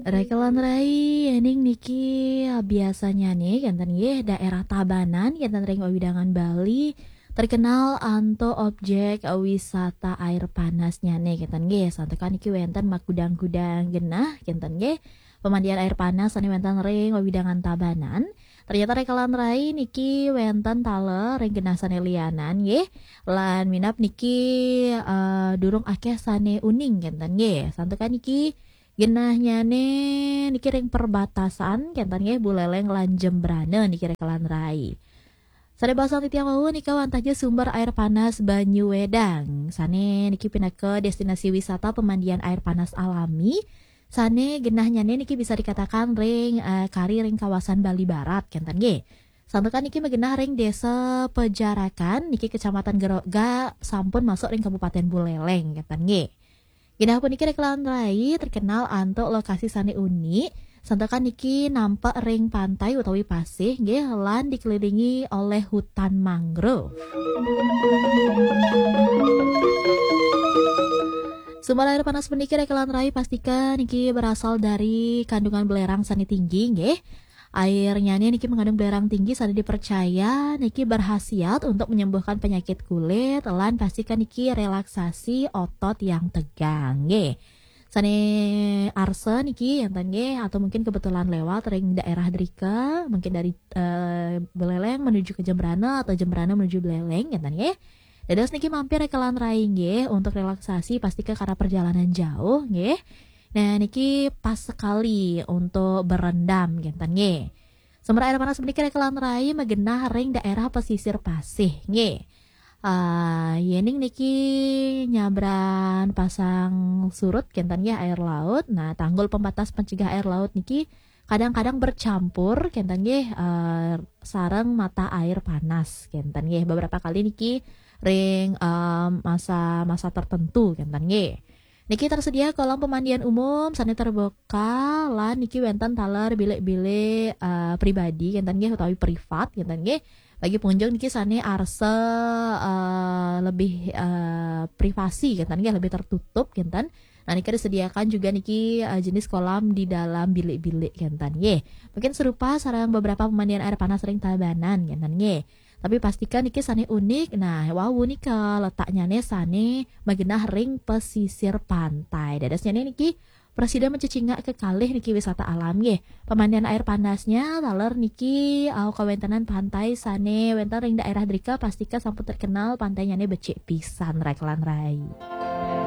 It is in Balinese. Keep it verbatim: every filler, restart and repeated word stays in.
Rekelan rai, ening niki biasanya nih, kenten nggih, daerah Tabanan, kenten ring wewidangan Bali, terkenal antuk objek wisata air panasnya nih, kenten nggih. Santukan niki wenten magudang-gudang genah, kenten nggih. Pemandian air panas sane wenten ring wewidangan Tabanan. Ternyata rekelan rai niki wenten taler ring genah sane lianan nggih. Lan minab niki, eh, durung akeh sane uning kenten nggih. Santukan niki genahnyane niki ring perbatasan kenten nggih, Buleleng lan Jembrana niki rekelan rai. Sane basang titiang wau nika wantah ja sumber air panas Banyu Wedang. Sane niki pinaka destinasi wisata pemandian air panas alami. Sane genahnyane niki bisa dikatakan ring, eh, kari ring kawasan Bali Barat kenten nggih. Santukan niki magenah ring Desa Pejarakan niki Kecamatan Geroga sampun masuk ring Kabupaten Buleleng kenten nggih. Genah puniki rekelan rai terkenal antuk lokasi sane unik. Santukan niki nampak ring pantai utawi pasih nggih, lan dikelilingi oleh hutan mangrove. Sumber air panas puniki rekelan rai pastika niki berasal dari kandungan belerang sane tinggi nggih. Airnya nih niki mengandung belerang tinggi, sane dipercaya niki berhasiat untuk menyembuhkan penyakit kulit, lan pastika niki relaksasi otot yang tegang nggih. Sane arsa niki enten nggih, atau mungkin kebetulan lewat ring daerah drika, mungkin dari, eh, Buleleng menuju ke Jembrana atau Jembrana menuju Buleleng enten nggih. Dados niki mampir rekelan rai nggih untuk relaksasi, pastika karena perjalanan jauh nggih. Nah, niki pas sekali untuk berendam kenten nggih. Sumber air panas puniki rekelan rai magenah ring daerah pesisir pasih nggih. Ah, yening niki nyabran pasang surut kenten nggih air laut. Nah, tanggul pembatas pencegah air laut niki kadang-kadang bercampur kenten nggih, eh, sareng mata air panas kenten nggih. Beberapa kali niki ring, eh, masa-masa tertentu kenten nggih. Niki tersedia kolam pemandian umum sane terbuka, lan niki wenten taler bilik-bilik, eh, pribadi kenten nggih, utawi privat kenten nggih. Bagi pengunjung niki sane arsa, eh, lebih, eh, privasi kenten nggih, lebih tertutup kenten. Nah, niki disediakan juga niki, eh, jenis kolam di dalam bilik-bilik kenten nggih. Mungkin serupa sareng beberapa pemandian air panas ring Tabanan kenten nggih. Tapi pastikan niki sane unik. Nah, wau nika letaknyane sane magenah ring pesisir pantai. Dadosnyane niki prasida mencecingak kekalih niki wisata alam nggih. Pemandian air panasnya taler niki, eh, kawentenan pantai sane wenten ring daerah drika, pastika sampun terkenal pantainyane becik pisan rekelan rai.